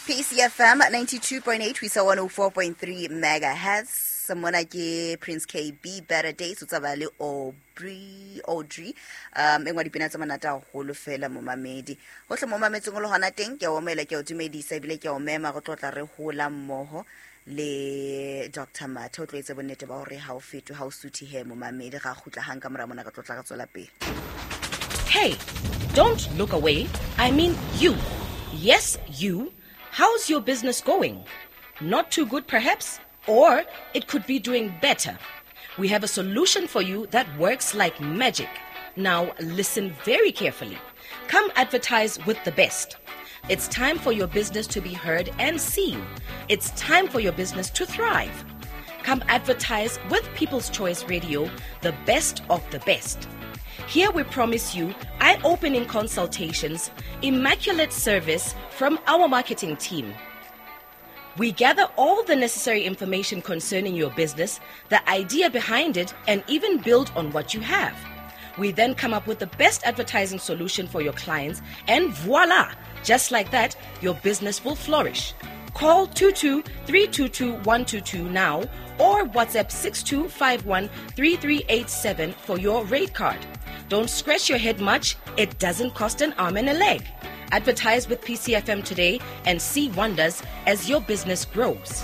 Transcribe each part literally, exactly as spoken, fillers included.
P C F M ninety-two point eight ho isa one oh four point three megahertz. Mona ke Prince K B, "Better Days", o tsaba le Aubrey Audrey um e nngwe dipina tse monate haholo fela. Momamedi hohle mo mametseng o le hona teng, ke a o omela, ke a o dumedisa ebile ke a o mema re tlo tla re hola mmoho le Doctor Mathe. O tlo etse bonnete ba hore ha o fetwe, ha o suthe he. Momamedi, ga kgutla hang ka mora mona, re tlo tla re tswela pele. Hey, don't look away. I mean you. Yes, you. How's your business going? Not too good, perhaps? Or it could be doing better. We have a solution for you that works like magic. Now, listen very carefully. Come advertise with the best. It's time for your business to be heard and seen. It's time for your business to thrive. Come advertise with People's Choice Radio, the best of the best. Here we promise you eye opening consultations, immaculate service from our marketing team. We gather all the necessary information concerning your business, the idea behind it, and even build on what you have. We then come up with the best advertising solution for your clients, and voila! Just like that, your business will flourish. Call two two three two two one two two now or WhatsApp six two five one three three eight seven for your rate card. Don't scratch your head much, it doesn't cost an arm and a leg. Advertise with P C F M today and see wonders as your business grows.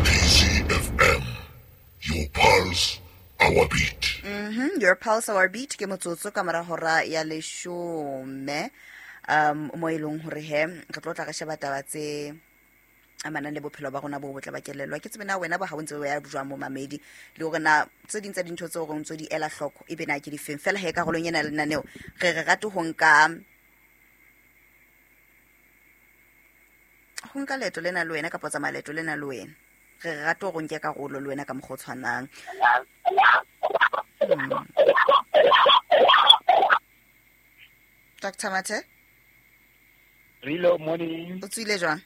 P C F M, your pulse, our beat. Mhm, your pulse, our beat. Ke motsotso ka mora hora ya leshome um mo e leng hore he re tlo tla re sheba taba tse amanang le bophelo ba rona bo botle ba kelello. Ke tsebe na wena ba ha o ntse o ya jwang, momamedi, le hore na tse ding tsa dintho tseo re ntso di ela hloko ebe na ke difeng. Fela he karolong ena ya lenaneo re re rate ho nka ho nka leeto lena le wena, kapa tsamaya leeto lena le wena. Re re rate hore o nke karolo le wena ka mokgwa o tshwanang Mm. Doctor Mathe. Rilo, morning. O tswile jwang?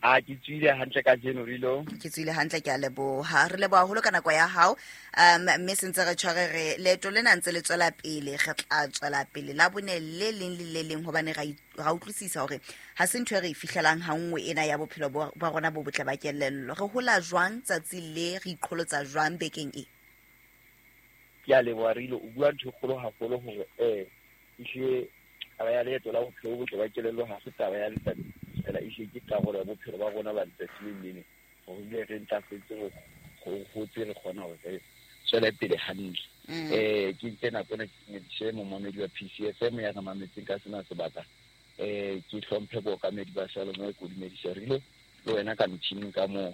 A ke tswile hantle kajeno, Rilo. Ke tswile hantle, ke a leboha. Re leboha haholo ka nako ya hao um mme sentse re tshware re leeto lena ntse le tswela pele, re tla tswela pele la bone le leng le le leng, hobane ra ra utlwisisa hore ha se ntho e re e fihlelang ha nngwe ena ya bophelo bo ba rona bo botle ba kelello. Re hola jwang tsatsi le, re iqholotsa jwang bekeng e? Ke a leboha, Rilo. O bua ntho e kgolo haholo hore eh ehlile taba ya leeto la bophelo bo botle ba kelello ha se taba ya letsatsi fela, ehlile ke karolo ya bophelo ba rona ba letsatsi le leng, hore ebile re ntlafetse, re hotse, re kgona hore re tswele pele hantle. Mm. eh ke nke nako ena ke dumedise momamedi wa P C F M ya re mametseng ka sena sebaka. eh ke hlomphe bookamedi ba Salome, ko dumedisa Rilo le wena ka motjhining ka moo.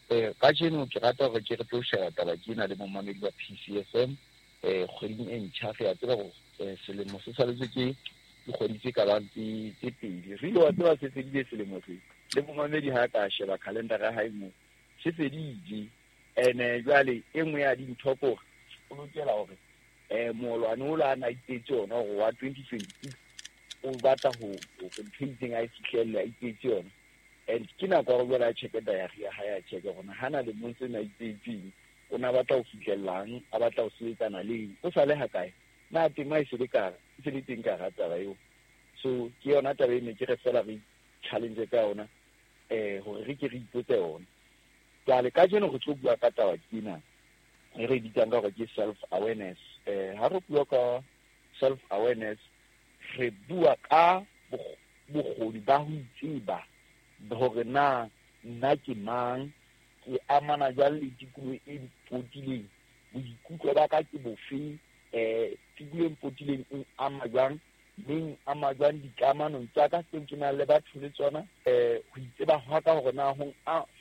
eh kajeno ke rata hore ke re tlo sheba taba ke ena le momamedi wa P C F M. eh kgweding e ntjha, re a tseba hore eh, selemo se saletswe ke dikgwedi tse ka bang tse tse pedi. Rilo, wa tseba se fedile selemo se, le momamedi ha ka sheba calendar ya hae moo, se fedile. Ene jwale e nngwe ya dintho ke hore o lokela hore eh moolwane o la na ipetse yona hore wa twenty twenty-six o batla ho ho ntho e itseng a e fihlelle, a ipetse yona. And ke nako ya hore jwale a check-e diary ya hae, a check-e hore hana lemong sena a ipetseng o na batla ho fihlellang, a batla ho sebetsana le eng, o sa le hakae, na tema e se le ka e se le teng ka hara taba eo. So ke yona taba e ne ke re fela re challenge ka yona eh hore re ke re ipotse yona. Jwale kajeno re tlo bua ka taba kena e re bitsang ka hore ke self awareness. eh ha re bua ka self awareness, re bua ka bokgoni ba ho itseba hore na nna ke mang, ke amana jwang le tikoloho e mpotileng, boikutlo ba ka ke bofe, eh tikoloho e mpotileng e ama jwang, mme ama jwang dikamanong tsa ka tseo ke nang le batho le tsona. eh ho itseba hwa ka hore na ho